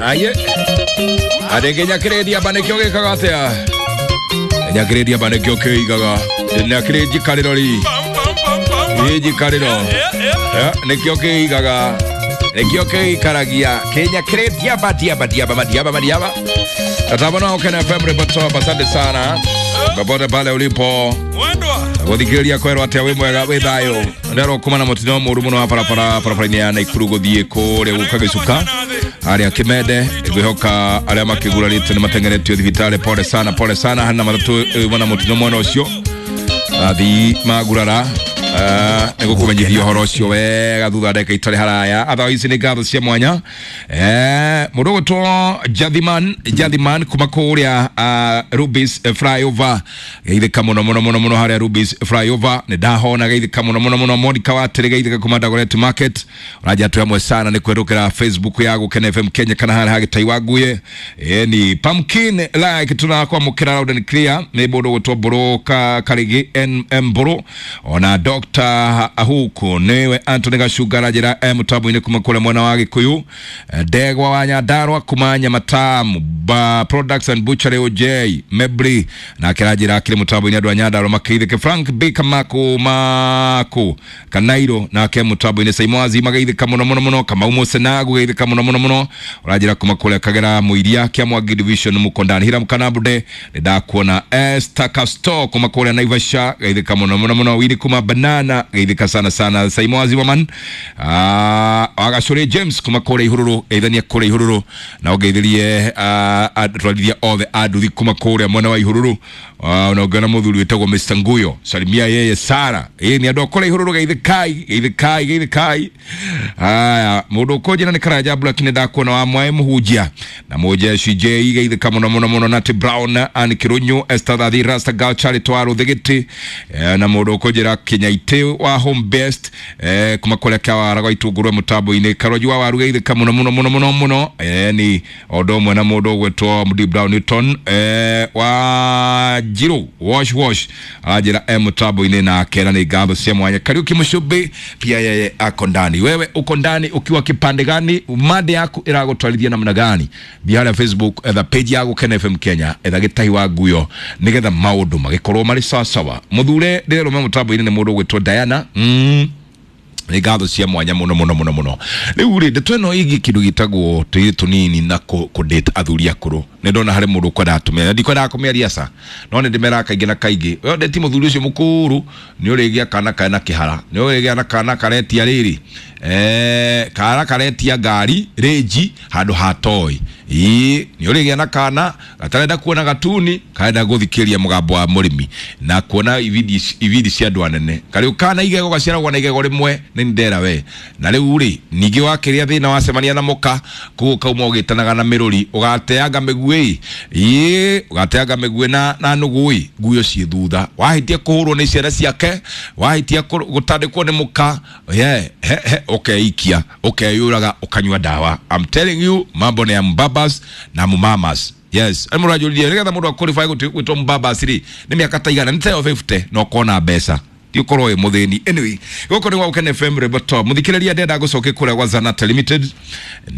Aye arege nyakiredia banekio gikaga atia nyakiredia banekio kiigaga nyakire njikariro ri ĩ njikariro nikio kiigaga nikio kiikaragia kinyakiredia badiaba diaba madiaba madiaba tatabona Ukena FM Reporter, asante sana popote pale ulipo guthikiriria kwerwo atia wi mwega wi thayo nderwo kuma na mutino muru muno wa barabara barabara-inĩ ya Naikuru guthie kuria guka gicuka aria kimende ngwihoka aria makigurarĩtio nĩ matengeretio thibitarĩ. Pole sana, pole sana hana matatu na mutino mwena ucio athii magurara nĩ gũkũmenyithia ũhoro ũcio wega thutha ndagĩka itarĩ haraya. Otherwise nĩ ngatho cia mwanya mũndũ ũgwĩtwo Jathiman Jathiman kuma kũrĩa Rubis flyover geithĩka mũno mũno mũno mũno harĩa Rubis flyover nĩ ndahona geithĩka mũno mũno mũno. Monica Watĩrĩ geithĩka kuma Dagoretti Market ũranja twĩ hamwe sana nĩ kwĩrũkĩra Facebook ya Gũkena FM Kenya kana harĩa hagĩtai wa Nguye ni pumpkin like tunakwamũkĩra loud and clear nĩ mũndũ ũgwĩtwo Mbũrũ Karĩgĩ NM Mbũrũ ona Dr. Ahuku niwe Anthony Gacunga aranjĩra e mũtambo-inĩ kuma kũrĩa mwena wa Gĩkũyũ. Ndegwa wa Nyandarua kuma Nyamatamu ba Products and Butchery OJ Mebri nake aranjĩra akĩrĩ mũtambo-inĩ andũ a Nyandarua makeithĩke. Frank Baker Mako Mako Kanairo nake mũtambo-inĩ Saimwazi mageithĩka mũno mũno mũno. Kamau Musenagu geithĩka mũno mũno mũno ũranjĩra kuma kũrĩa Kagera Mũiria kĩa Mwangi Division Mukondani Hiram Kanabude nĩ ndakuona. Esther Casto kuma kũrĩa Naivasha geithĩka mũno mũno mũno. Wili kuma Banana geithĩka sana sana. Saimwazi Waman Agacũrĩ James kuma kũrĩa Ihururu geithania kũrĩa Ihururu na ũgeithirie atwarithia othe a nduthi kuma kũrĩa mwena wa Ihururu na ũngĩona mũthuri wĩtagwo Mr Nguyo salimia yeye Sara ĩ nĩ andũ a kũrĩa Ihururu geithĩkai geithĩkai geithĩkai. Haya mũndũ ũkũnjĩra nĩ Karanja Black nĩ ndakuona wa mwaĩ mũhunjia na mũjeshi J geithĩka mũno mũno mũno. Nati Brown Ann Kirunyu Esther Thathi Rasta Girl Charlie Twaru Thigiti na mũndũ ũkũnjĩra Kinyaitĩ wa Home Best kuma kũrĩa Kawara gwa Itũngũrũ mũtambo-inĩ Karonji wa Waru geithĩka mũno mũno mũno mũno mũno ni ũndũ ũmwe na mũndũ ũgwĩtwo Md Brown Newton wa Njirũ wash wash aranjĩra e mũtambo-inĩ nake na nĩ ngatho cia mwanya. Kariuki Mũcũmbĩ pia yeye ako ndani. Wewe uko ndani ukiwa kipande gani? Mada yaku ĩragũtwarithia namna gani? Thiĩ harĩa Facebook etha page ya Gũkena FM Kenya etha Gĩtahi wa Nguyo nĩgetha maũndũ magĩkorwo marĩ sawasawa. Mũthure ndĩrerũme mũtambo-inĩ nĩ mũndũ ũgwĩtwo Diana nĩ ngatho cia mwanya mũno mũno mũno mũno. Rĩu rĩ ndeto ĩno ĩgiĩ kĩndũ gĩtagwo tũirĩtu tũnini na kũ-date athuri akũrũ nĩ ndona harĩ mũndũ ũkwendaga tũmĩaria ndikwendaga kũmĩaria ca no nĩ ndĩmeraga kaingĩ na kaingĩ we ndeti mũthuri ũcio mũkũrũ nĩ ũrĩgĩa kana kena kĩhara nĩ ũrĩgĩa na kana karetia rĩrĩ kana karetia ngari rĩnji handũ ha toy ĩĩ nĩ ũrĩgĩa na kana gatarenda kuona gatuni karenda gũthikĩrĩria mũgambo wa mũrĩmi na kuona ibindi cia andũ anene karĩu kana igego gaciaragwo na igego rĩmwe nĩ ndera we na rĩu rĩ ningĩ wakĩrĩa thĩna wacemania na mũka koguo kauma ũgĩtanaga na mĩrũri ũgateanga mĩguĩ ĩĩ ũgateanga mĩguĩ na nũgũ ĩ nguyo ciĩ thutha wahĩtia kũhũrwo nĩ ciana ciake wahĩtia gũtandĩkwo nĩ mũka ye he he ũkeikia ũkeyũraga ũkanyua ndawa. I'm telling you mambo ni ya mbabas na mumamas. Yes, nĩ mũranjũririe nĩgetha mũndũ aqualify gwĩtwo mbabas rĩ nĩ mĩaka ta igana nĩ tayo 50 na ũkona mbeca ti ũkorwo wĩ mũthĩni. Anyway gũkũ nĩ gwa Gũkena FM Roboto mũthikĩrĩria ndenda gũcoke kũrĩa gwa Zanata Limited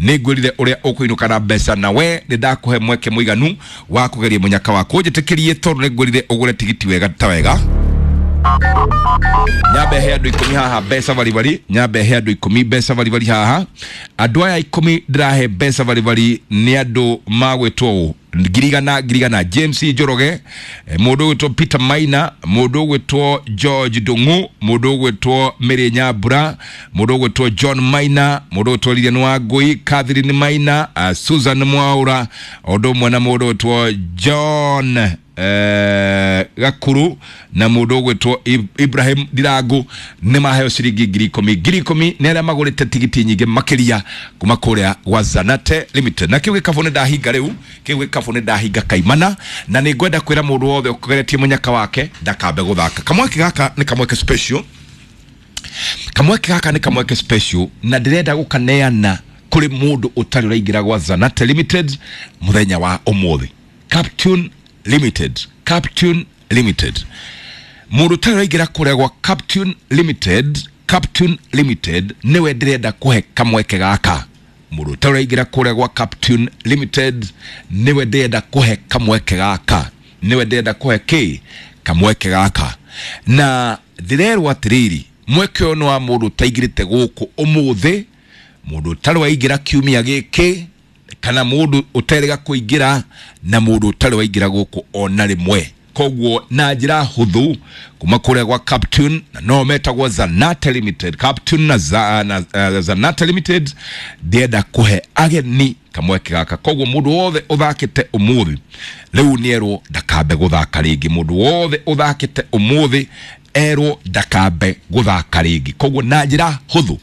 nĩ ngwĩrire ũrĩa ũkũinũka na mbeca na we nĩ ndakũhe mweke mũiganu wa kũgeria mũnyaka waku ũnjĩtĩkĩrie tondũ nĩ ngwĩrire ũgũre tigiti wega ta wega nyambe he andũ ikũmi haha mbeca baribari nyambe he andũ ikũmi mbeca baribari haha andũ aya ikũmi ndĩrahe mbeca baribari nĩ andũ magwĩtwo ũũ ngirigana ngirigana James Njoroge mũndũ ũgwĩtwo Peter Maina mũndũ ũgwĩtwo George Ndung'u mũndũ ũgwĩtwo Mary Nyambura mũndũ ũgwĩtwo John Maina mũndũ ũgwĩtwo Lilian Wangui Catherine Maina Susan Mwaura ũndũ ũmwe na mũndũ ũgwĩtwo John Gakuru na mũndũ ũgwĩtwo Ibrahim Ndirangu nĩ maheo ciringi 10,000 10,000 nĩ arĩa magũrĩte tigiti nyingĩ makĩria kuma kũrĩa gwa Zanate Limited. Na kĩu gĩkabũ nĩ ndahinga rĩu kĩu gĩkabũ nĩ ndahinga kaimana na nĩ ngwenda kwĩra mũndũ wothe ũgeretie mũnyaka wake ndakambe gũthaka. Kamweke gaka nĩ kamweke special kamweke gaka nĩ kamweke special na ndĩrenda gũkaneana kũrĩ mũndũ ũtarĩ ũraingĩra gwa Zanate Limited mũthenya wa ũmũthĩ. Captune Limited Captune Limited mũndũ ũtarĩ ũraingĩra kũrĩa gwa Captune Limited Captune Limited nĩwe ndĩrenda kũhe kamweke gaka. Mũndũ ũtarĩ waingĩra kũrĩa gwa Captune Limited nĩwe ndĩrenda kũhe kamweke gaka, nĩwe ndĩrenda kũhe kĩ kamweke gaka. Na ndĩrerwo atĩrĩrĩ, mweke ũyũ nĩ wa mũndũ ũtaingĩrĩte gũkũ ũmũthĩ, mũndũ ũtarĩ waingĩra kiumia gĩkĩ, kana mũndũ ũterĩga kũingĩra, na mũndũ ũtarĩ waingĩra gũkũ ona rĩmwe. Koguo na njĩra hũthũ kuma kũrĩa gwa Captune, na no metagwo Zanate Limited, Captune na, Zanate Limited, ndĩrenda kũhe ageni kamweke gaka. Koguo mũndũ wothe ũthakĩte ũmũthĩ rĩu nĩerwo ndakambe gũthaka rĩngĩ. Mũndũ wothe ũthakĩte ũmũthĩ erwo ndakambe gũthaka rĩngĩ. Koguo na njĩra hũthũ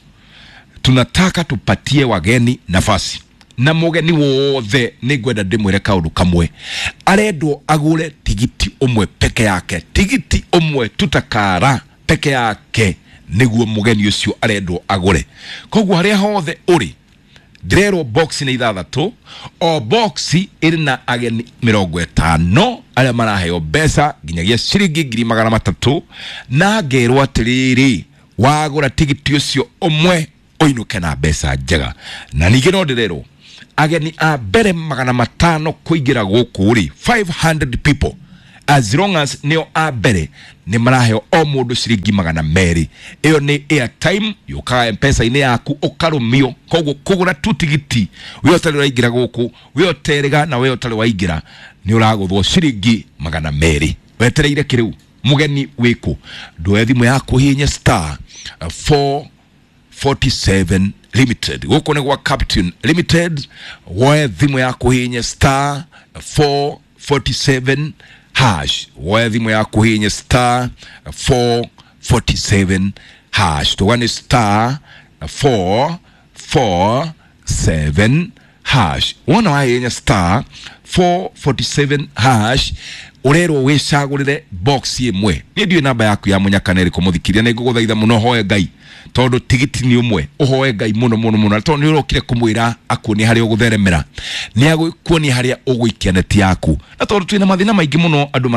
tunataka tupatie wageni nafasi, na mũgeni wothe nĩ ngwenda ndĩmwĩre kaũndũ kamwe, arendwo agũre tigiti ũmwe peke yake, tigiti ũmwe tutakara peke yake nĩguo mũgeni ũcio arendwo agũre. Koguo harĩa hothe ũrĩ, ndĩrerwo box nĩ ithathatũ, o box ĩrĩ na ageni 50 arĩa maraheo mbeca nginyagia ciringi 300,000, na ngerwo atĩrĩrĩ, wagũra tigiti ũcio ũmwe ũinũke na mbeca njega. Na ningĩ no ndĩrerwo ageni a mbere 500 kũingĩra gũkũ rĩ, 500 people, as long as nĩo a mbere nĩ maraheo o mũndũ ciringi 200. Ĩyo nĩ airtime yũkaga M-Pesa-inĩ yaku ũkarũmio. Koguo kũgũra tu tigiti we ũtarĩ ũraingĩra gũkũ, we ũterĩga na we ũtarĩ waingĩra, nĩ ũragũthwo ciringi 200. Wetereire kĩrĩu mũgeni wĩkũ? Ndoe thimũ yaku hihinye star 447 Limited. Gũkũ nĩ gwa Captune Limited. Woe thimũ yaku hihinye star 447 hash. Woe thimũ yaku hihinye star 447 hash. Tuga nĩ star 447 hash. Wona wahihinya star 447 hash, ũrerwo wĩcagũrĩre box ĩmwe. Niĩ ndiũĩ namba yaku ya mũnyaka nĩ ĩrĩkũ mũthikĩria, nĩ ngũgũthaitha mũno hoe Ngai, tondũ tigiti nĩ ũmwe, ũhoe Ngai mũno mũno mũno, tondũ nĩ ũrokire kũmwĩra akuonie harĩa ũgũtheremera, nĩ agũkuonia harĩa ũgũikia neti yaku. Na tondũ twĩna mathĩna maingĩ mũno andũ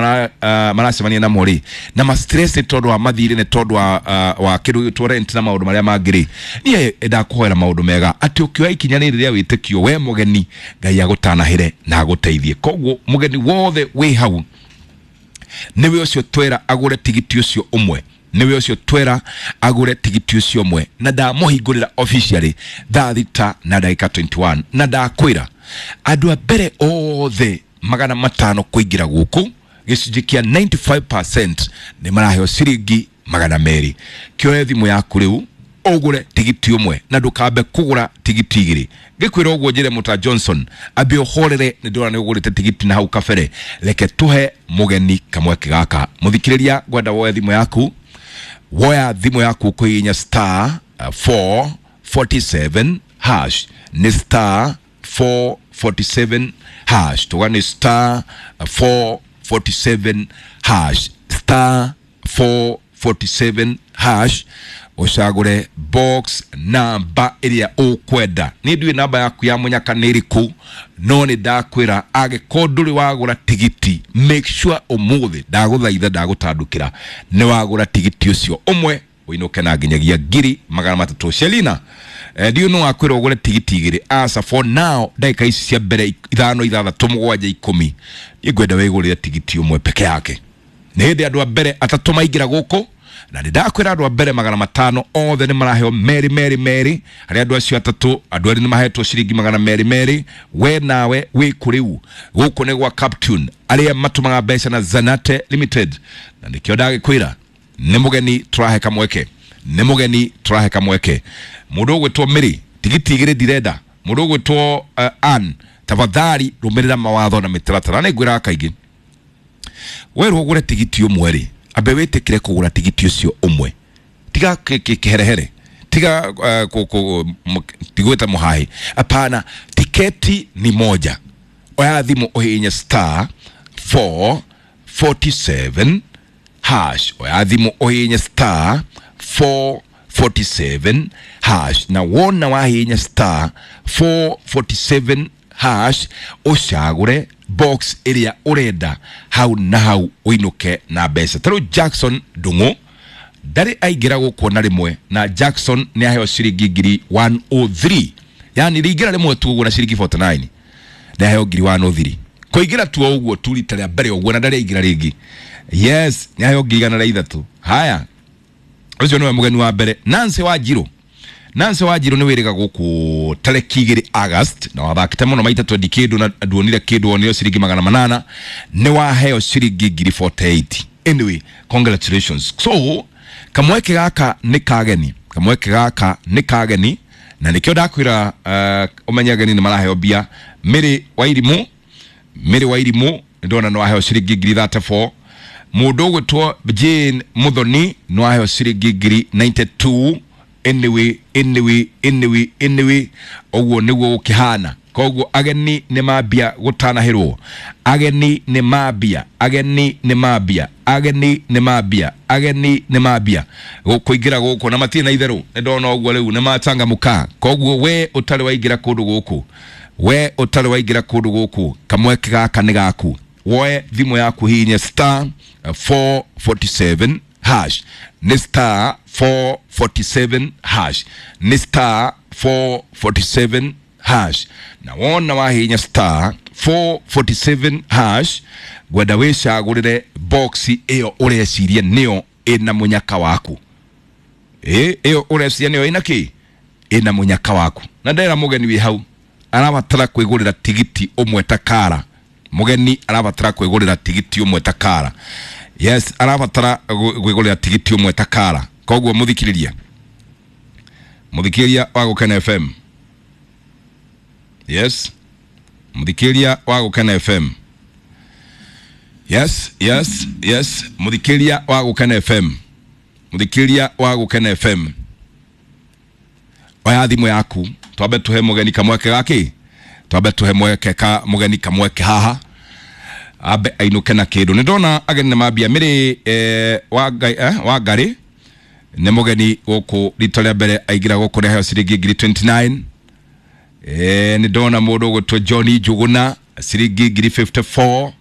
maracemania namo rĩ, na ma stress nĩ tondũ wa mathirĩ, nĩ tondũ wa kĩndũ gĩtwo rent na maũndũ marĩa mangĩ rĩ, niĩ ndakũhoera maũndũ mega atĩ ũkĩoya ikinya rĩrĩ rĩa wĩtĩkio we mũgeni, Ngai agũtanahĩre na agũteithie. Koguo mũgeni wothe wĩ hau nĩwe ũcio twera agũre tigiti ũcio ũmwe, nĩwe ũcio twera agũre tigiti ũcio ũmwe. Na ndamũhingũrĩra officially thaa 6 na ndagĩka 21, na ndakwĩra andũ a mbere othe 500 kũingĩra gũkũ, gĩcunjĩ kĩa 95% nĩ maraheo ciringi 200. Kĩoe thimũ yaku rĩu ũgũre tigiti ũmwe, na ndũkambe kũgũra tigiti igĩrĩ. Ngĩkwĩra ũguo njĩre Mũta Johnson ambe ũhorere, nĩ ndĩrona nĩ ũgũrĩte tigiti na hau kabere. Reke tũhe mũgeni kamweke gaka. Mũthikĩrĩria, ngwenda woe thimũ yaku, woya thimũ yaku kũhihinya star 447 hash. Nĩ star 447 hash. Tuga nĩ star 447 hash, star 447 hash, ũcagũre box namba ĩrĩa ũkwenda. Niĩ ndiũĩ namba yaku ya mũnyaka nĩ ĩrĩkũ, no nĩ ndakwĩra angĩkorwo ndũrĩ wagũra tigiti, make sure ũmũthĩ ndagũthaitha ndagũtandũkĩra nĩ wagũra tigiti ũcio ũmwe ũinũke na nginyagia 300,000. Shelina, ndiũĩ nĩ wakwĩra ũgũre tigiti igĩrĩ. Asa for now ndagĩka ici cia mbere 5 6 7 10, niĩ ngwenda wĩgũrĩre tigiti ũmwe peke yake. Nĩ hĩndĩ andũ a mbere atatũ maingĩra gũkũ, na nĩ ndakwĩra andũ a mbere 500 othe nĩ maraheo merĩ merĩ merĩ. Harĩa andũ acio atatũ, andũ erĩ nĩ mahetwo ciringi 200. We nawe wĩ kũ rĩu? Gũkũ nĩ gwa Captune, arĩa matũmaga mbeca na Zanate Limited. Na nĩkĩo ndagĩkwĩra nĩ mũgeni tũrahe kamweke, nĩ mũgeni tũrahe kamweke. Mũndũ ũgwĩtwo Mĩrĩ, tigiti igĩrĩ ndirenda. Mũndũ ũgwĩtwo Ann, tafadhali rũmĩrĩra mawatho na mĩtaratara. Nĩ ngwĩraga kaingĩ, werwo ũgũre tigiti ũmwe rĩ, ambe wĩtĩkĩre kũgũra tigiti ũcio ũmwe, tiga kĩherehere, tiga tigwĩta mũhaĩ, hapana. Tiketi ni moja. Oya thimũ ũhihinye star 447 hash. Oya thimũ ũhihinye star 447 hash, na wona wahihinya star 447 hash ũcagũre box ĩrĩa ũrenda hau na hau ũinũke na mbeca. Ta rĩu Jackson Ndung'u ndarĩ aingĩra gũkũ ona rĩmwe, na Jackson nĩ aheo ciringi 103,000. Yani rĩingĩra rĩmwe tu ũguo na ciringi 49 nĩaheo ngiri 103. Kũingĩra tu o ũguo tu rita rĩa mbere ũguo na ndarĩ aingĩra rĩngĩ. Yes, nĩaheo ngiri 103. Haya, ũcio nĩwe mũgeni wa mbere. Nancy Wanjiru. Nancy Wanjiru nĩ wĩrĩga gũkũ tarĩki 2 August na wathakĩte mũno maita 20 kĩndũ na nduonire kĩndũ, wonire ciringi 800, nĩ waheo ciringi ngiri 48. Anyway, congratulations. So kamweke gaka nĩ kageni, kamweke gaka nĩ kageni, na nĩkĩo ndakwĩra ũmenye ageni nĩ maraheo mbia. Mary Wairimu, Mary Wairimu ndona nĩ waheo ciringi ngiri 34. Mũndũ ũgwĩtwo Jane Muthoni nĩ waheo ciringi ngiri 92. Anyway, anyway, anyway, anyway, ũguo nĩguo gũkĩhana. Koguo ageni nĩ mambia gũtanahĩrwo, ageni nĩ mambia, ageni nĩ mambia, ageni nĩ mambia, ageni nĩ mambia kũingĩra gũkũ na matirĩ na itherũ. Nĩ ndona ũguo rĩu nĩ machangamũka. Koguo we ũtarĩ waingĩra kũndũ gũkũ, we ũtarĩ waingĩra kũndũ gũkũ, kamweke gaka nĩ gaku. Woe thimũ yaku, hihinye star 447 hash. Nĩ star 447 hash, nĩ star 447 hash. Na wona wahihinya star 447 hash, ngwenda wĩcagũrĩre box ĩyo ũreciria nĩyo ĩna mũnyaka waku. Ĩyo ũreciria nĩyo ĩna kĩ, ĩna mũnyaka waku. Na ndera mũgeni wĩ hau arabatara kwĩgũrĩra tigiti ũmwe ta kara. Mũgeni arabatara kwĩgũrĩra tigiti ũmwe ta kara. Yes, arabatara kwĩgũrĩra tigiti ũmwe ta kara. Koguo mũthikĩrĩria, mũthikĩrĩria wa Gũkena FM. Yes, mũthikĩrĩria wa Gũkena FM. Yes, yes, yes, mũthikĩrĩria wa Gũkena FM, mũthikĩrĩria wa Gũkena FM, oya thimũ yaku, twambe tuhe mũgeni kamweke gaki, twambe tuhe mweke ka mũgeni kamweke haha ambe ainũke na kĩndũ. Nĩ ndona ageni nĩ mambia. Mĩrĩ wa Ngarĩ nĩ mũgeni gũkũ rita rĩa mbere aingĩra gũkũ nĩ aheo ciringi ngiri 29. Nĩ ndona mũndũ ũgwĩtwo John Njuguna ciringi ngiri 54.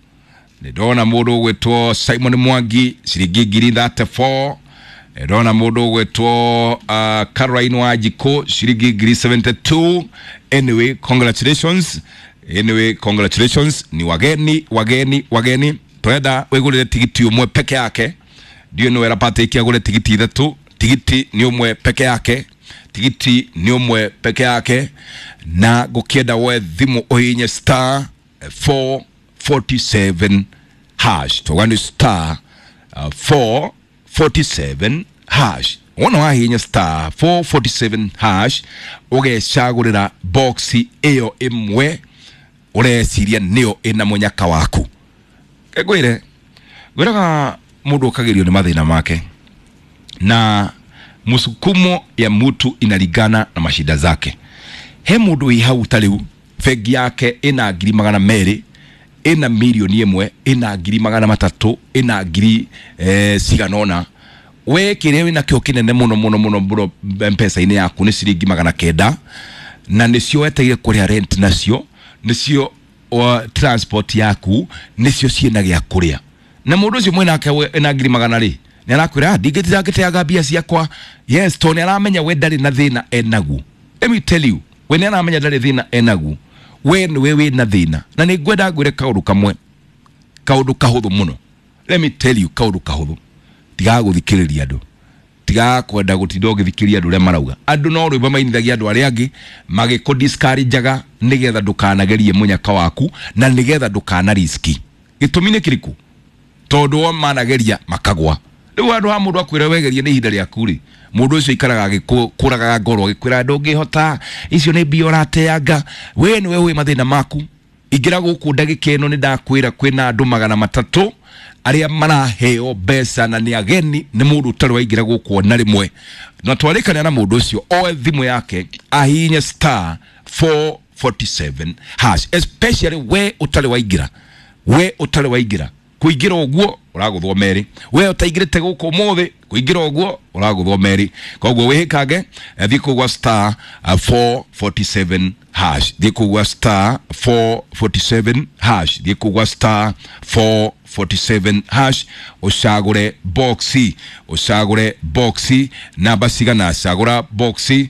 Nĩ ndona mũndũ ũgwĩtwo Simon Mwangi ciringi ngiri 34. Nĩ ndona mũndũ ũgwĩtwo Caroline Wanjikũ ciringi ngiri 72. Anyway, congratulations. Anyway, congratulations. Ni wageni, wageni, wageni. Twenda wĩgũrĩre tigiti ũmwe peke yake. Ndiũ nĩ wera Patrick agũre tigiti ithatũ. Tigiti nĩ ũmwe peke yake, tigiti nĩ ũmwe peke yake. Na ngũkĩenda woe thimũ ũhihinye star 447 hash. Tuga nĩ star 447 hash. Wona wahihinya star 447 hash, ũgecagũrĩra box ĩyo ĩmwe ũreciria nĩyo ĩna mũnyaka waku. Ngwĩre, ngwĩraga mũndũ ũkagĩrio nĩ mathĩna make, na msukumo ya mtu inalingana na mashida zake. He mũndũ wĩ hau ta rĩu bengi yake ĩna ngiri 200, ĩna 1,000,000, ĩna ngiri 300, ĩna ngiri cigana ũna. We kĩrĩa wĩna kĩo kĩnene mũno mũno mũno mũno mpesa-inĩ yaku nĩ ciringi 900, na nĩcio wetereire kũrĩha rent, nacio nĩcio transport yaku, nĩcio ciĩna gĩa kũrĩa. Na mũndũ ũcio mwĩnake ena ngiri 100 rĩ, nĩ arakwĩra ndingĩtira ngĩteaga mbia ciakwa. Yes, tondũ nĩ aramenya we ndarĩ na thĩna enaguo. Let me tell you, we nĩ aramenya ndarĩ thĩna enaguo, we nĩwe wĩna thĩna. Na nĩ ngwenda ngwĩre kaũndũ kamwe, kaũndũ kahũthũ mũno. Let me tell you, kaũndũ kahũthũ. Tigaga gũthikĩrĩria andũ, tigaga kwenda gũtinda ũgĩthikĩrĩria andũ ũrĩa marauga. Andũ no rwĩmbo mainithagia andũ arĩa angĩ magĩkũ discourage-aga nĩgetha ndũkanagerie mũnyaka waku na nĩgetha ndũkana riski. Gĩtũmi nĩ kĩrĩkũ? Tondũ o manageria makagwa. Rĩu handũ ha mũndũ akwĩra wegerie nĩ ihinda rĩaku rĩ, mũndũ ũcio aikaraga agĩkũragaga ngoro agĩkwĩra ndũngĩhota, icio nĩ mbia ũrateanga, we nĩwe ũĩ mathĩna maku. Ingĩra gũkũ ndagĩka ĩno nĩ ndakwĩra kwĩna andũ 300 arĩa maraheo mbeca na nĩ ageni, nĩ mũndũ ũtarĩ waingĩra gũkũ ona rĩmwe. Na twarĩkania na mũndũ ũcio oe thimũ yake ahihinye star 447 hash, especially we ũtarĩ waingĩra, we ũtarĩ waingĩra. Kũingĩra ũguo ũragũthwo merĩ, we ũtaingĩrĩte gũkũ ũmũthĩ kũingĩra ũguo ũragũthwo merĩ. Koguo wĩhĩkange, thiĩ kũu gwa star 447 hash. Thiĩ kũu gwa star 447 hash. Thiĩ kũu gwa star 447 hash ũcagũre boxi, ũcagũre boxi namba cigana, cagũra boxi,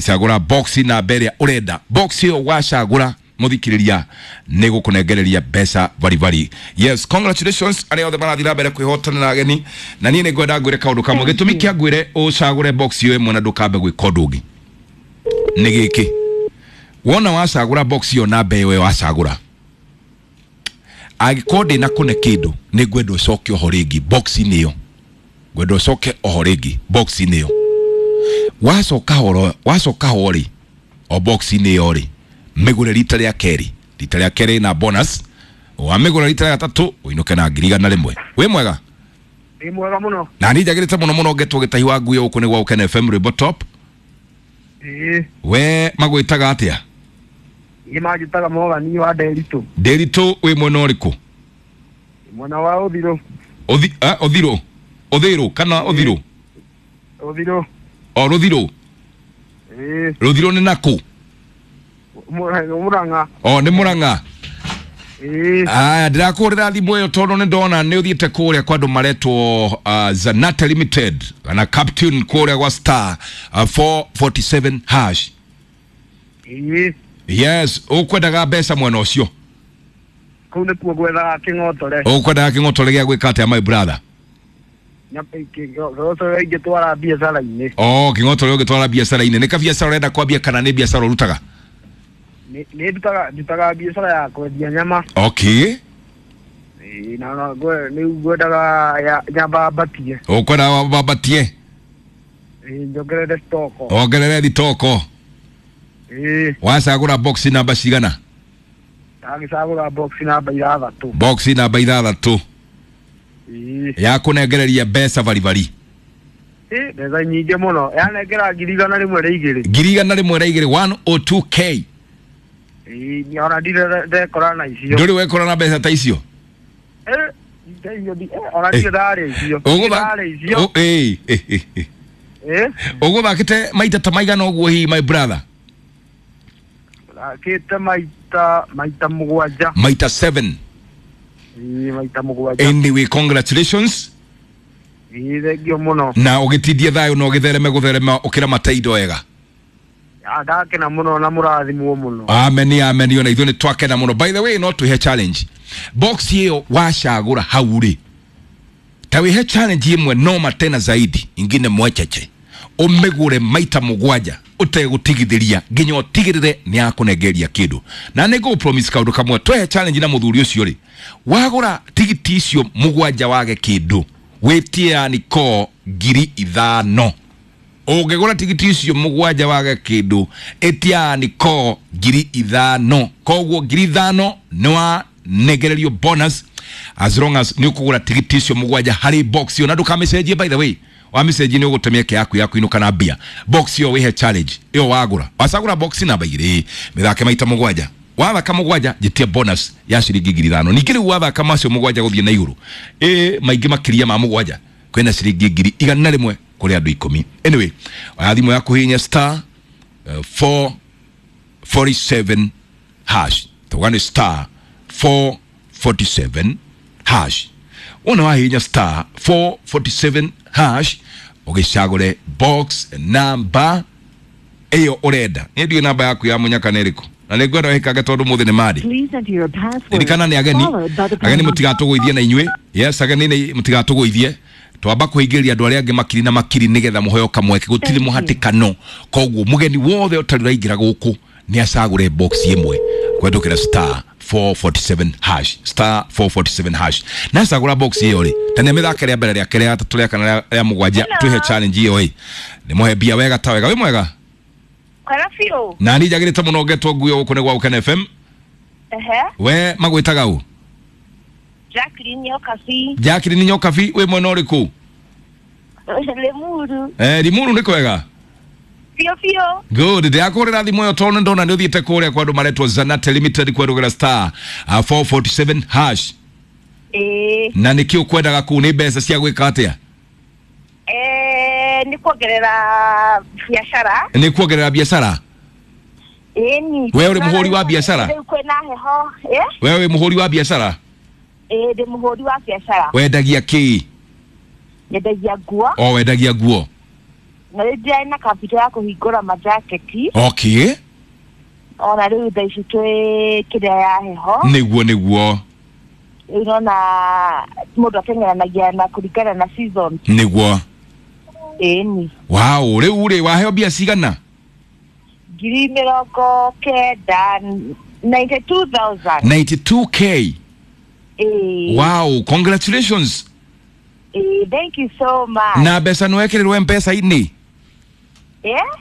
cagũra boxi namba ĩrĩa ũrenda. Boxi ĩyo wacagũra muthikiriria nä gå kå nengereria mbeca baribari. Yes, congratulations arĩa othe marathiĩ na mbere kwĩhotanĩra ageni. Na niĩ nĩ ngwenda ngwĩre kaũndũ kamwe, gĩtũmi kĩa ngwĩre ũcagũre box ĩyo ĩmwe na ndũkambe gwĩka ũndũ ũngĩ nĩ gĩkĩ: wona wacagũra box ĩyo namba ĩyo wacagũra, angĩkorwo ndĩna kũne kĩndũ, nĩ ngwenda ũcoke oho rĩngĩ box-inĩ ĩyo, ngwenda ũcoke oho rĩngĩ box-inĩ ĩyo. Wacoka horo, wacoka ho rĩ, o box-inĩ ĩyo rĩ, mĩgũre rita rĩa kerĩ, rita rĩa kerĩ na bonus. Wamĩgũra rita rĩa gatatũ ũinũke na 100,000. Wĩ mwega? Ĩ, mwega mũno. Na niĩ njagĩrĩte mũno mũno, ngetwo Gĩtahi wa Nguyo, gũkũ nĩ gwa Ũkene FM, rwĩmbo top. Ĩ. We magwĩtaga atĩa? Ĩ, manjĩtaga Mogani wa Nderitũ. Ndĩritũ, wĩ mwena ũrĩkũ? Mwena wa Ũthirũ. Ũthirũ, ũthĩrũ kana ũthirũ? Ũthirũ. O rũthirũ? Ĩ. Rũthirũ nĩ nakũ? Mũrang'a. O nĩ Mũrang'a? Ĩ. Aya, ndĩrakũhũrĩra thimũ ĩyo tondũ nĩ ndona nĩ ũthiĩte kũrĩa kwa andũ maretwo Zanate Limited kana Captain kũrĩa gwa star 447 hash. Ĩ. Yes, ũkwendaga mbeca mwena ũcio? Kũu nĩkuo gwethaga kĩng'otore. Ũkwendaga kĩng'otore gĩa gwĩka atĩa, my brother? Kĩng'otore ingĩtwara biacara-inĩ. Oh, kĩng'otore ũngĩtwara biacara-inĩ. Nĩ kabiacara ũrenda kwambia kana nĩ biacara ũrutaga? Nĩ ndutaga biacara ya kwendia nyama. Okay. Ĩ, na nĩ ngwendaga nyamba mbatie. Ũkwendaga wambatie? Ĩ, njongerere stoko. Wongerere thitoko. Ĩ. Wacagũra box namba cigana? Ndagĩcagũra box namba 6. Box namba 6. Ĩ. Ya kũnengereria mbeca baribari. Ĩ, mbeca nyingĩ mũno, yanengera 102,000. 102,000, 102K. Ĩ, ona ndirĩ ndekora na icio. Ndũrĩ wekora na mbeca ta icio? Ona ndirĩ ndarĩa icio. Ndarĩa icio. Ĩ. Ũgũthakĩte maita ta maigana ũguo hihi, my brother? Thakĩte maita 7. Maita 7. Ĩ, maita 7. Anyway, congratulations. Ĩ, thengio mũno. Na ũgĩtindie thayũ na ũgĩthereme gũtherema ũkĩramata indo wega. Ndakena mũno na mũrathimwo mũno. Amen, amen. Ona ithuĩ nĩ twakena mũno. By the way, no twĩhe challenge box ĩyo wacagũra hau rĩ, ta wĩhe challenge ĩmwe noma tena zaidi, ingine mwecheche, ũmĩgũre maita 7 ũtegũtigithĩria nginya ũtigĩrĩre nĩ yakũnengeria kĩndũ. Na nĩ ngũgũ promise kaũndũ kamwe, twehe challenge na mũthuri ũcio rĩ, wagũra tigiti icio 7 wage kĩndũ, wĩtie yani ko 5,000. Ũngĩgũra tigiti icio 7 wage kĩndũ, ĩtia ni ko 5,000. Koguo 5,000 nĩ wanengererio bonus as long as nĩ ũkũgũra tigiti icio 7 harĩ box ĩyo. Na ndũkamĩcenjie, by the way, wamĩcenjie nĩ ũgũte mĩeke yaku ya kũinũka na mbia. Box ĩyo wĩhe challenge ĩyo wagũra, wacagũra box namba 2, mĩthake maita 7, wathaka 7 njĩtie bonus ya ciringi 5,000. Ningĩ rĩu wathaka macio 7 gũthiĩ na igũrũ, ĩ maingĩ makĩria ma 7, kwĩna ciringi 100,000 kũrĩ andũ 10. Anyway, oya thimũ yaku hihinya star 447 hash. Tuga nĩ star 447 hash. Wona wahihinya star 447 hash, ũgĩcagũre box namba ĩyo ũrenda. Niĩ ndiũĩ namba yaku ya mũnyaka nĩ ĩrĩkũ, na nĩ ngwenda wĩkage tondũ mũthĩ nĩ mandi. Ririkana nĩ ageni, ageni mũtigatũgũithie na inyuĩ. Yes, ageni nĩ mũtigatũgũithie, twamba kũhingĩrĩria andũ arĩa angĩ makiri na makiri nĩgetha mũheo kamweke, gũtirĩ mũhatĩkano. Koguo mũgeni wothe ũtarĩ ũraingĩra gũkũ nĩ acagũre box ĩmwe kũhetũkĩra star 447 hash, star 447 hash. Na cagũra box ĩyo rĩ, ta nĩ mĩthake rĩa mbere, rĩa kerĩ, rĩa gatatũ, rĩa kana, rĩa 7, twĩhe challenge ĩyo ĩ nĩ mũhe mbia wega ta wega. Wĩ mwega? Kwega biũ. Na niĩ njagĩrĩte mũno, ngetwo Nguyo, gũkũ nĩ gwa Ũkene FM. Ehe. We magwĩtaga ũ? Jacqueline Nyokabi. Jacqueline Nyokabi, wĩ mwena ũrĩkũ? Limuru. Limuru nĩ kwega? Biũ biũ. Good. Ndĩrakũhũrĩra thimũ ĩyo tondũ nĩndona nĩ ũthiĩte kũrĩa kwa andũ maretwo Zanate Limited kwerũgĩra star 447 hash. Ĩĩ. Na nĩkĩ ũkwendaga kũu, nĩ mbeca cia gwĩka atĩa? Nĩ kuongerera biacara. Nĩ kuongerera biacara? Ĩni. We ũrĩ mũhũri wa biacara? Rĩu kwĩna heho. We wĩ mũhũri wa biacara? Ĩĩ, ndĩ mũhũri wa biacara. Wendagia kĩ? Nyendagia nguo. O wendagia nguo. Na rĩu ndirarĩ na capital ya kũhingũra majaketi. Okay. Ona rĩu thaa ici twĩ kĩrĩa ya heho. Nĩguo nĩguo. Rĩu nona mũndũ ateng'eranagia na kũringana na season. Nĩguo. Ĩni. Wow, rĩu rĩ waheo mbia cigana? 90,000, 92,000. 92K. Ĩĩ. Wow, congratulations. Ĩĩ, thank you so much. Na mbeca nĩ wekĩrĩrwo M-Pesa-inĩ?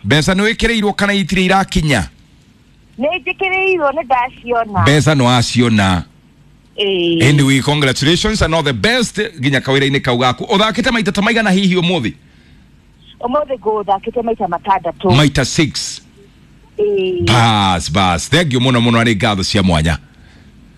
Mbeca nĩ wĩkĩrĩirwo kana itirĩ irakinya? Nĩ njĩkĩrĩirwo, nĩ ndaciona. Mbeca nĩ waciona. Ĩĩ. Anyway, congratulations and all the best nginya kawĩra-inĩ kau gaku. Ũthakĩte maita ta maigana hihi ũmũthĩ? Ũmũthĩ ngũthakĩte maita matandatũ. Maita 6. Ĩĩ. Bas bas, thank you mũno mũno, arĩ ngatho cia mwanya.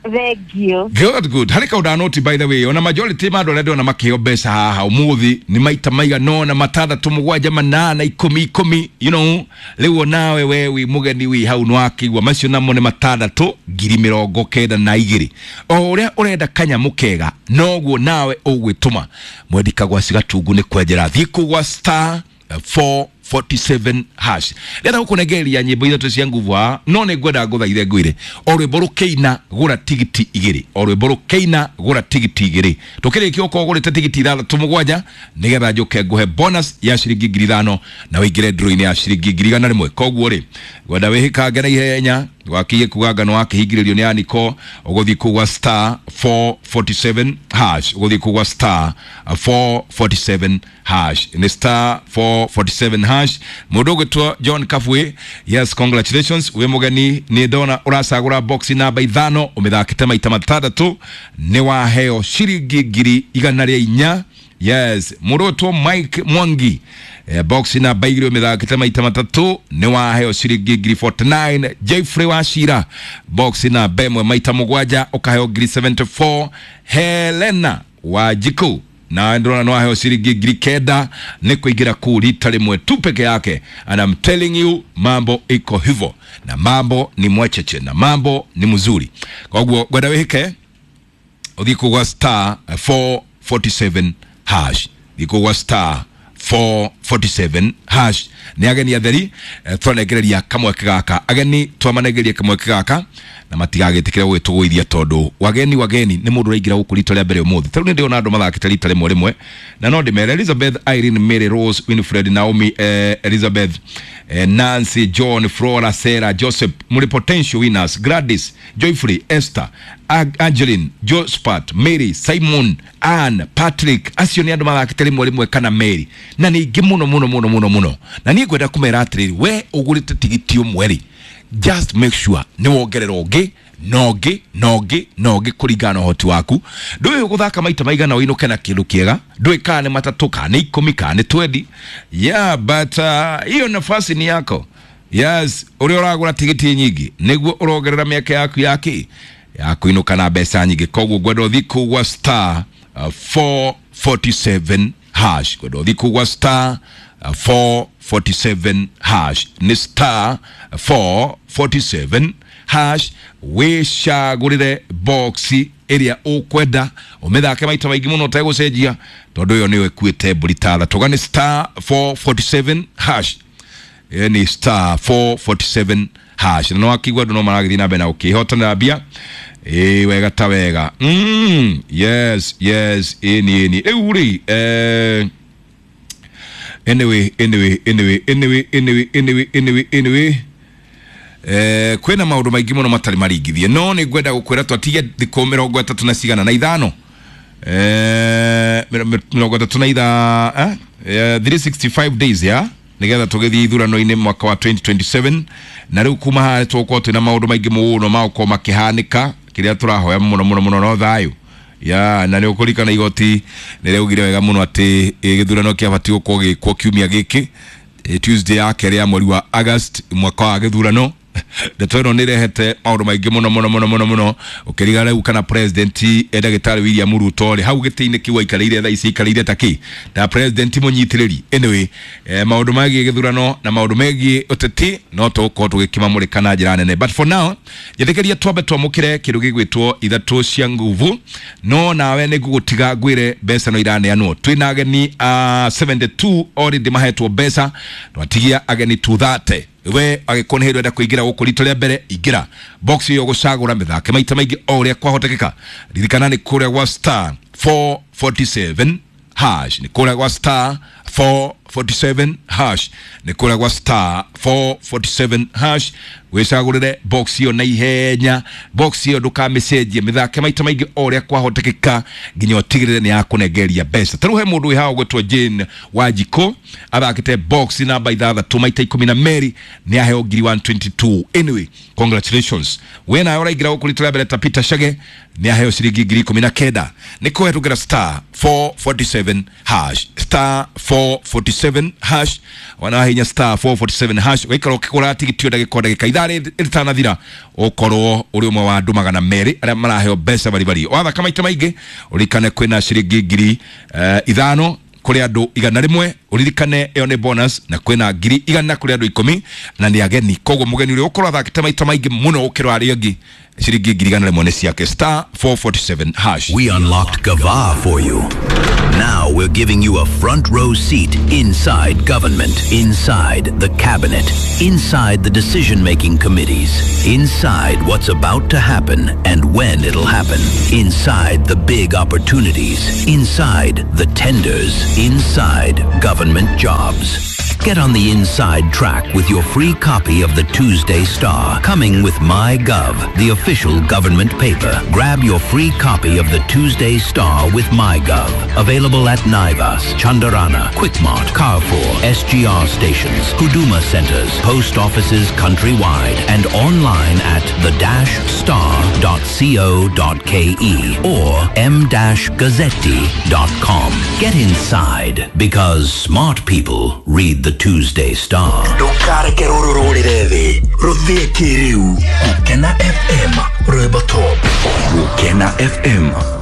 Thank you. Good, good. Harĩ kaũndũ noti, by the way, ona majority ma andũ arĩa ndĩrona makĩheo mbeca haha ũmũthĩ nĩ maita maigana ũna, matandatũ, mũgwanja, manana, ikũmi, ikũmi, you know. Rĩu onawe we wĩ mũgeni wĩ hau nĩwakĩigua macio namo nĩ matandatũ, 92,000. O ũrĩa ũrenda kanyamũ kega noguo nawe ũgwĩtũma. Mwendika gwa cigatungu nĩ kwenjera, thiĩ kũu gwa star 447 hash. Ndĩrenda gũkũnengereria nyĩmbo ithatũ cia nguvu haha, no nĩ ngwenda ngũthaithe ngwĩre o rwĩmbo rũkĩina gũra tigiti igĩrĩ, o rwĩmbo rũkĩina gũra tigiti igĩrĩ. Tũkĩrĩkia ũkorwo ũgũrĩte tigiti ithathatũ mũgwanja, nĩgetha njũke ngũhe bonus ya ciringi 5,000 na ũingĩre draw-inĩ ya ciringi 100,000. Koguo rĩ, ngwenda wĩhĩkange na ihenya, wakiye kuga ngano wakĩhingĩrĩrio nĩ Aniko, ũgũthiĩ kũu gwa star 447 hash, ũgũthiĩ kũu gwa star 447 hash, nĩ star 447 hash. Mũndũ ũgwĩtwo John Kafwe, yes, congratulations, wĩ mũgeni, nĩ ndona ũracagũra box namba ithano, ũmĩthakĩte maita matandatũ, nĩ waheo ciringi 104,000. Yes, mũndũ ũgwĩtwo Mike Mwangi, box namba igĩrĩ, ũmĩthakĩte maita matatũ, nĩ waheo ciringi 49,000. Jeffrey Wachira, box namba ĩmwe maita mũgwanja, ũkaheo 74,000. Helena Wanjikũ, na ndĩrona nĩ waheo ciringi 9,000 nĩ kũingĩra kũu rita rĩmwe tu peke yake. And I'm telling you, mambo iko hivyo na mambo ni mwecheche na mambo ni mzuri. Koguo ngwenda wĩhĩke ũthiĩ kũu gwa star 447 hash, thiĩ kũu gwa star 447 hash. Nĩ ageni atheri, twanengereria kamweke gaka, ageni twamanengeria kamweke gaka na matigagĩtĩkĩre gũgĩtũgũithia, tondũ wageni wageni nĩ mũndũ ũraingĩra gũkũ rita rĩa mbere ũmũthĩ. Tarĩu nĩ ndĩrona andũ mathakĩte rita rĩmwe rĩmwe, na no ndĩmere Elizabeth, Irene, Mary, Rose, Winfred, Naomi, Elizabeth, Nancy, John, Flora, Sarah, Joseph, mũrĩ potential winners. Gladys, Joyfrey, Esther, Angeline, Jospat, Mary, Simon, Ann, Patrick, acio nĩ andũ mathakĩte rĩmwe rĩmwe kana Mary, na nĩ aingĩ mũno mũno mũno mũno mũno. Na niĩ ngwenda kũmera atĩrĩrĩ, we ũgũrĩte tigiti ũmwe rĩ, just make sure nĩ wongerera ũngĩ na ũngĩ na ũngĩ na ũngĩ kũringana na ũhoti waku. Ndũĩ ũgũthaka maita maigana ũinũke na kĩndũ kĩega, ndũĩ kana nĩ matatũ, kana nĩ ikũmi, kana nĩ 20. Yeah, but hiyo nafasi ni yako. Yes, ũrĩa ũragũra tigiti nyingĩ nĩguo ũrongerera mĩaka yaku ya kĩ ya kũinũka na mbeca nyingĩ. Koguo ngwenda ũthiĩ kũu gwa star 447 hash, ngwenda ũthiĩ kũu gwa star 447 hash, nĩ star 447 hash, wĩcagũrĩre boxi ĩrĩa ũkwenda, ũmĩthake maita maingĩ mũno ũtegũcenjia, tondũ ĩyo nĩyo ĩkuĩte mbũri tara tũga. Nĩ star 447 hash, ĩyo nĩ star 447 hash. Na nĩwakĩigua andũ no maragĩthiĩ na mbere na gũkĩhotanĩra mbia. Ĩ wega ta wega. Yes, yes, ĩni ĩni. Rĩu rĩ, anyway, anyway, anyway, anyway, anyway, anyway, anyway, anyway, kwĩna maũndũ maingĩ mũno matarĩ maringithie, no nĩ ngwenda gũkwĩra twatige thikũ mĩrongo ĩtatũ na cigana na ithano, mĩrongo ĩtatũ na itha, 365 days ya nĩgetha tũgĩthiĩ ithurano-inĩ mwaka wa 2027. Na rĩu kuma haha tũgũkorwo twĩna maũndũ maingĩ mũno magũkorwo makĩhanĩka. Kĩrĩa tũrahoya mũno mũno mũno no thayũ ya. Na nĩ ũkũririkana igoti nĩ rĩaugire wega mũno atĩ gĩthurano kĩabatiĩ gũkorwo gĩkwo kiumia gĩkĩ, Tuesday ya kerĩ ya mweri wa August mwaka wa gĩthurano. Ndeto ĩno nĩ ĩrehete maũndũ maingĩ mũno mũno mũno mũno mũno, ũkĩriga rĩu kana president ndagĩtarĩ William Ruto rĩ, hau gĩtĩ-inĩ kĩu aikarĩire thaa ici aikarĩire ta kĩ ta president mũnyitĩrĩri. Anyway, maũndũ megiĩ gĩthurano na maũndũ megiĩ ũteti no tũgũkorwo tũgĩkĩmamũrĩka na njĩra nene, but for now njĩtĩkĩria twambe twamũkĩre kĩndũ gĩgwĩtwo ithatũ cia nguvu. No nawe nĩ ngũgũtiga ngwĩre mbeca no iraneanwo. Twĩna ageni 72 already mahetwo mbeca, twatigia ageni 230. We agĩkorwo nĩ hĩndĩ ũrenda kũingĩra gũkũ rita rĩa mbere, ingĩra box ĩyo gũcagũra mĩthake maita maingĩ o ũrĩa kwahotekeka. Ririkana nĩ kũrĩa gwa star 447 hash, nĩ kũrĩa gwa star 447 hash, nĩ kũrĩa gwa star 447 hash. Wĩcagũrĩre box ĩyo na ihenya. Box ĩyo ndũkamĩcenjie, mĩthake maita maingĩ o ũrĩa kwahotekeka nginya ũtigĩrĩre nĩ yakũnengeria mbeca. Ta rĩu he mũndũ wĩ haha ũgwĩtwo Jane Wanjikũ, athakĩte box namba 6 maita 12, nĩ aheo ngiri 122. Anyway, congratulations. We nawe ũraingĩra gũkũ rita rĩa mbere ta Peter Chege, nĩ aheo ciringi ngiri 19. Nĩ kũhetũkĩra star 447 hash, star 447 hash. Wanahinya star 447 hash, ũgaikara ũkĩgũra tigiti o ndagĩka o ndagĩka, ithaa rĩtanathira ũkorwo ũrĩ ũmwe wa andũ 200 arĩa maraheo mbeca baribari. Wathaka maita maingĩ, ũririkane kwĩna ciringi ngiri 5 kũrĩ andũ 100. Ũririkane ĩyo nĩ bonus, na kwĩna ngiri 100 kũrĩ andũ 10 na nĩ ageni. Koguo mũgeni ũrĩa ũkorwo athakĩte maita maingĩ mũno gũkĩra arĩa angĩ, ciringi ngiri 100 nĩ ciake. Star 447 hash. We unlocked Gava for you. Now we're giving you a front row seat inside government, inside the cabinet, inside the decision making committees, inside what's about to happen and when it'll happen, inside the big opportunities, inside the tenders, inside government jobs. Get on the inside track with your free copy of the Tuesday Star, coming with MyGov, the official government paper. Grab your free copy of the Tuesday Star with MyGov. Available at Naivas, Chandarana, Quickmart, Carrefour, SGR stations, Huduma centers, post offices countrywide, and online at the-star.co.ke or m-gazzetti.com. Get inside because smart people read the Tuesday Star. Ndũkareke rũrũ rũrĩre thĩ, rũthĩe kĩrĩu. Gũkena FM, rwĩmbo top. Gũkena FM.